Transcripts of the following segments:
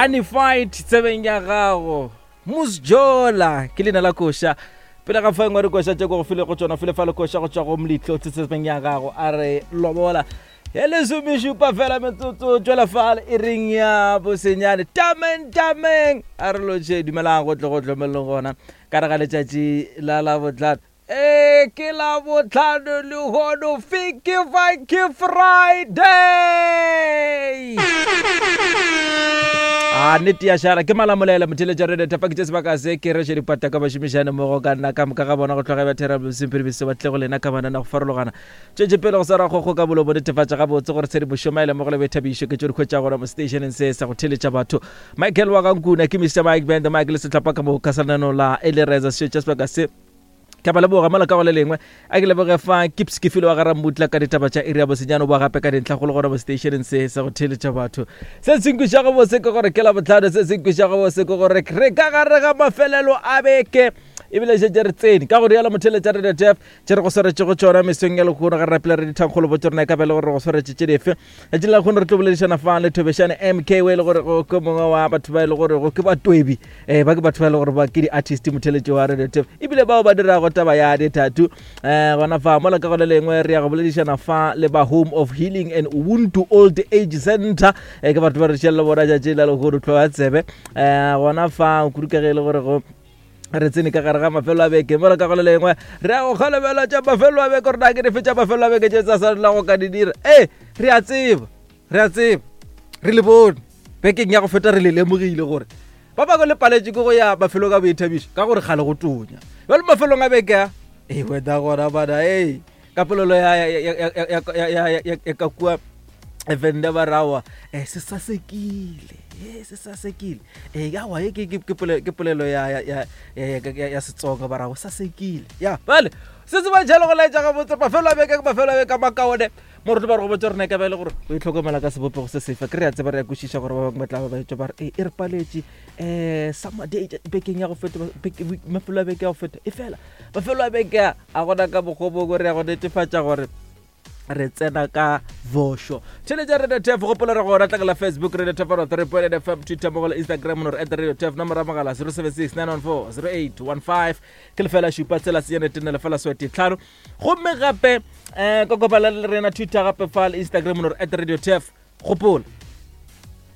Honeyfight tsebeng ya gago Musjola ke leina la koša pele ga fa engwe re koša tše ko go file go tšona file fa le koša go tšwa go mletlo tsebeng ya gago a re lobola ya lesomešupa fela metsotso tšwela fale e reng ya bosenyane tameng tameng a re lotše dumelang go tle go tlomeleleng gona ka re ga letšatši la labotlhano ee ke labotlhano lehono fiki funky friday a nnete ya šala ke malamolela motheletša re leta fa ke tše sebaka se ke reše dipata ka bašomišane mmogo ka nna ka moka ga bona go tloga ba thera bosempere ba tle go lena ka manana go farologana Tšwetše pele go swara kgokgo ka molomo, netefatša gabotse gore tshedimošo, maele mmogo le boithabišo ke tšo di hwetšago gona mo seteišeneng se sa go theeletša batho. Michael wa ga Nkuna ke Mister Mike Band Mike le sehlopha ka moka sa lenaneo la E Le Reza Sešo tša sebaka se. Ke a ba leboga mola ka go le lengwe a ke leboge fa Kips ke file wa ga Rammutla ka ditaba tša iri ya bosenyane o boa gape ka dintlha go le gona mo seteišeneng se sa go theeletša batho. Se se nkwišago bose ke gore ke Labohlano, se se nkwišago bose ke gore re ka gare ga mafelelo a beke ebile šetše re tsene ka go rialo motheeletša Radio Jeff tše re go swaretšego tšona mesong ya lehono ga re rapela re dithankgolo bo tšona e ka be le gore re go swaretše tše dife letšatši la lehono re tlo boledišana fa le thobešane mk o e le gore ke mongwe wa batho ba e le gore ke batwebi um ba ke batho ba e le gore ba ke di-artist motheletši wa radio tef ebile bao ba dirago taba ya ditatu um gona fa mola ka go le lengwe re ya go boledišana fa le ba home of healing and ubuntu old age center um ke batho ba re šelela bona tšatši la lehono tlhoa tsebe um gona fa kudu ka ge e le gore go re tsene ka gare ga mafelo a beke mola ka go le lengwe re ya go kgolobela tša mafelo a beke gore na ke dife tša mafelo a beke tše tsa sa go ka di dira ee re a tseba re a tseba re le bone bekeng ya go feta re le lemogile gore ba bangwe le paletše ke go ya mafelong a boithabišo ka gore kgale go tonya jalo mafelong a beke a ee wena gona bana ee ka polelo ya ka kua venda ba rawa um se sasekile e se sasekile e awa e ke polelo ya setsonga ba rawa sasekile ya bale se se ba jalo go laetša gabotse mafelo a beke mafelo a beke a makaone mo re tlo ba re go botsa rena e ka ba e le gore o itlhokomela ka sebopego se sefe ke re a tseba re ya kwešiša gore ba bangwe ba tla ba ba etša ba re e e re paletše um summer day bekeng ya go feta mafelo a beke ya go feta e fela mafelo a beke a a gona ka mokgwa mongwe re ya go netefatša gore re tsena ka vošo tšhelete ya radio tf gopola re gona tlakela facebook radio tf 3 fm twitter mogo le instagram no re at radio tf nomoro ya mogala 076 914 0815 ke lefela šupa tsela senyane tene lefela swete tlhano gomme gape um ka kopana le rena twitter gape fa le instagram no re at radio tf gopola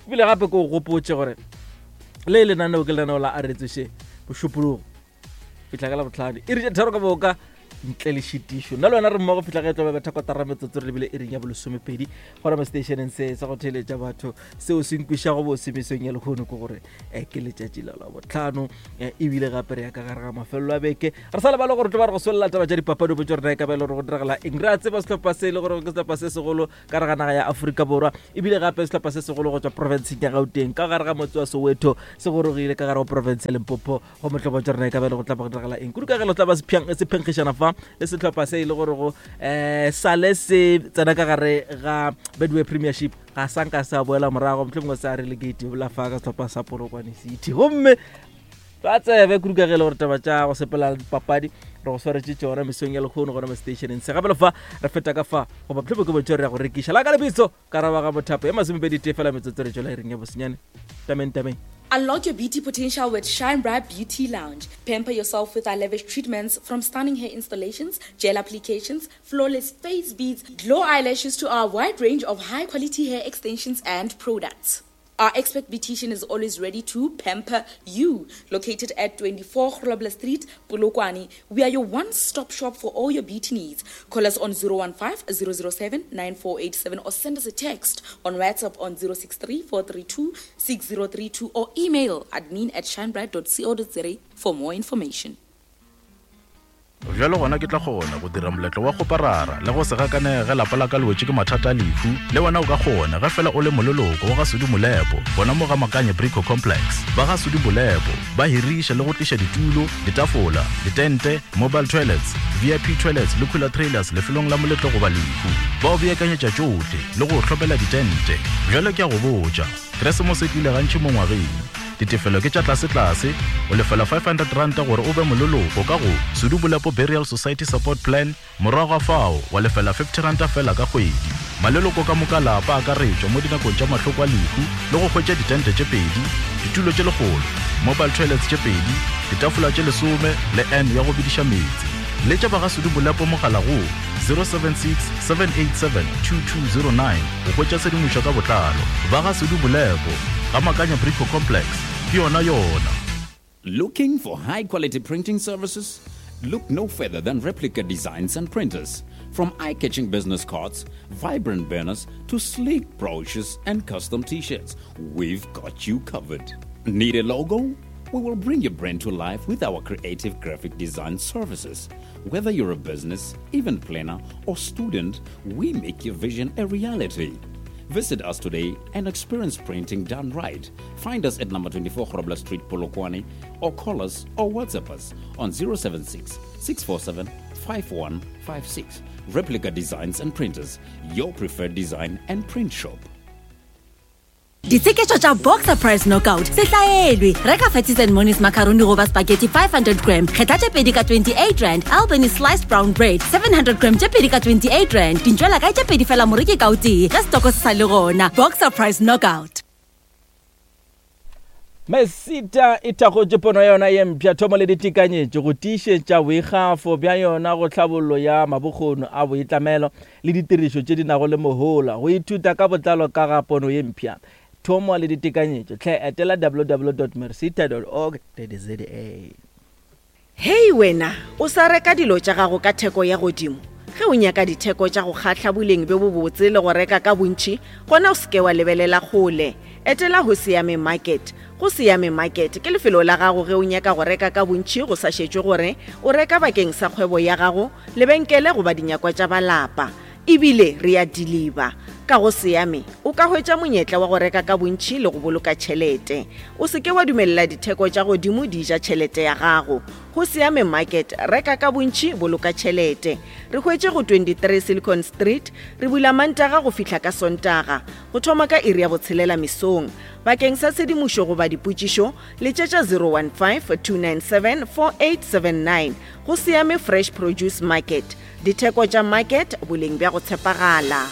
ebile gape ke o gopotse gore le lenaneo ke lenaneo la aretsoše bošupologo fihla ka labotlhano e ri tharo ka boka ntle le šitišo nna le wena re mmogo fihla ge e tlo ba betha kotara metsotso re lebile e reng ya bolesomepedi gona mo stationeng se sa go theletša batho seo se nkwišago bose mesong ya lehono ke gore um ke letšatši la labotlhano eh, ebile gape re ya ka gare ga mafelelo a beke re sa lebale gore tlo ba re go swelela taba tša dipapadi botse rena e ka ba e le gore go diragala eng re a tseba sehlopha se e le gore ke sehlopha se segolo ka gare ga naga ya Afrika Borwa ebile gape sehlopha se segolo go tšwa profenseng ya Gauteng ka gare ga motse wa Soweto se gorogile ka gare go profense ya Limpopo go mohlobo tša rena e ka ba e le go tla ba go diragala eng kudu ka ge lo tla ba se phenkgišana fa le sehlopha se e le gore go um sale se tsena ka gare ga Betway Premiership ga sa nka sa boela morago mohlomongwe sa relegate bola fa ka sehlopha sa Polokwane City gomme ba tsebe kudu ka ge e le gore taba tša go sepela le dipapadi re go swaretše tšona mesong ya lekgono gona mo stationeng se gape le fa re feta ka fa goba mohlomongwe ke bontšho re ya go rekiša la ka lebitso ka raba ga mothapo ya masomepedi tee fela metsotso re tšwela iring ya bosenyane tameng tameng Unlock your beauty potential with Shine Bright Beauty Lounge. Pamper yourself with our lavish treatments from stunning hair installations, gel applications, flawless face beads, glow eyelashes to our wide range of high quality hair extensions and products. Our expert beautician is always ready to pamper you. Located at 24 Grobler Street, Polokwane, we are your one-stop shop for all your beauty needs. Call us on 015 007 9487 or send us a text on WhatsApp on 063 432 6032 or email admin at shinebright.co.za for more information. Bjalo gona ke tla kgona go dira moletlo wa kgoparara le go se gakanege ge lapa la ka le wetše ke mathata a lehu. Le wena o ka kgona ge fela o le moleloko wa ga Sudi Molepo gona mo ga Makanye Brico Complex. Ba ga Sudi Molepo ba hiriša le go tliša ditulo, ditafola, ditente, mobile toilets, VIP toilets le cooler trailers lefelong la moletlo goba lehu. Ba o beakanyetša tšohle le go o hlomela ditente. Bjale ke a go botša, Keresemose e tlile gantši mo ngwageng. Ditefelo ke tša tlasetlase, o lefela R500 gore o be moleloko ka go Sudu Bolepo Burial Society Support Plan, morago ga fao wa lefela R50 feela ka kgwedi. Maleloko ka moka lapa a akaretšwa mo dinakong tša mahloko a lehu le go hwetša ditente tše pedi, ditulo tše lekgolo, mobile toilets tše pedi, ditafola tše lesome le urn ya go bediša meetse. Letša ba ga Sudu Bolepo mogala go 076 787 2209 go hwetša tshedimošo ka botlalo. Ba ga Sudu Bolepo, ga Makanya Brico Complex, ke yona yona. Looking for high quality printing services? Look no further than Replica Designs and Printers. From eye catching business cards, vibrant banners, to sleek brochures and custom t shirts, we've got you covered. Need a logo? We will bring your brand to life with our creative graphic design services. Whether you're a business, event planner, or student, we make your vision a reality. Visit us today and experience printing done right. Find us at number 24 Grobler Street, Polokwane, or call us or WhatsApp us on 076 647 5156. Replica Designs and Printers, your preferred design and print shop. Ditsheketšo tša Boxer Price Knockout se hlaelwe. Reka Fatties and Monies macaroni goba spaghetti 500 gram, kgetha tše pedi ka 28 rand, Albany sliced brown bread 700 gram tše pedi ka 28 rand. Dintšwela kae tše pedi fela moreki ka o tee ge setoko se sa le gona. Boxer Price Knockout. Mesita e thakgotše pono ya yona ye mpsha, thomo le ditekanyetšo go tiišetša boikgafo bja yona go tlhabollo ya mabokgoni a boitlamelo le ditirišo tše di nago le mohola. Go ithuta ka botlalo ka ga pono ye mpsha, thomo le ditekanyetšo, hle etela www.mersita.org.za. Hei wena, o sa reka dilo tša gago ka theko ya godimo? Ge o nyaka ditheko tša go kgahla, boleng bjo bobotse le go reka ka bontši, gona o se ke wa lebelela kgole. Etela Hosiame Market. Gosiame Market ke lefelo la gago ge o nyaka go reka ka bontši go sa šetšwe gore o reka bakeng sa kgwebo ya gago, lebenkele goba dinyakwa tša ba lapa. E bile re a diliba. Ka go Siame, o ka hwetša monyetla wa go reka ka bontši le go boloka tšhelete. O se ke wa dumelela ditheko tša godimo di ja tšhelete ya gago. Go Siame Market, reka ka bontši, boloka tšhelete. Re hwetše go 23 Silicon Street, re bula Mantaga go fihla ka Sontaga, go thoma ka iri ya botshelela mesong. Bakeng sa tshedimošo goba dipotšišo, letšetša 015 297 4879. Go Siame Fresh Produce Market. Ditheko tša market, boleng bja go tshepagala.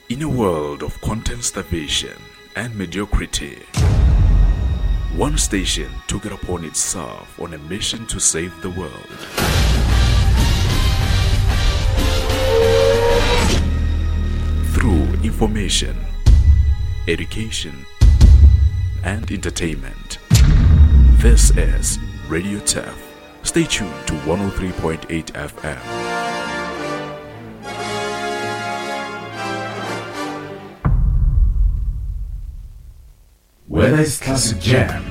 In a world of content starvation and mediocrity, one station took it upon itself on a mission to save the world. Through information, education, and entertainment. This is Radio Turf. Stay tuned to 103.8 FM. Whether it's classic jam,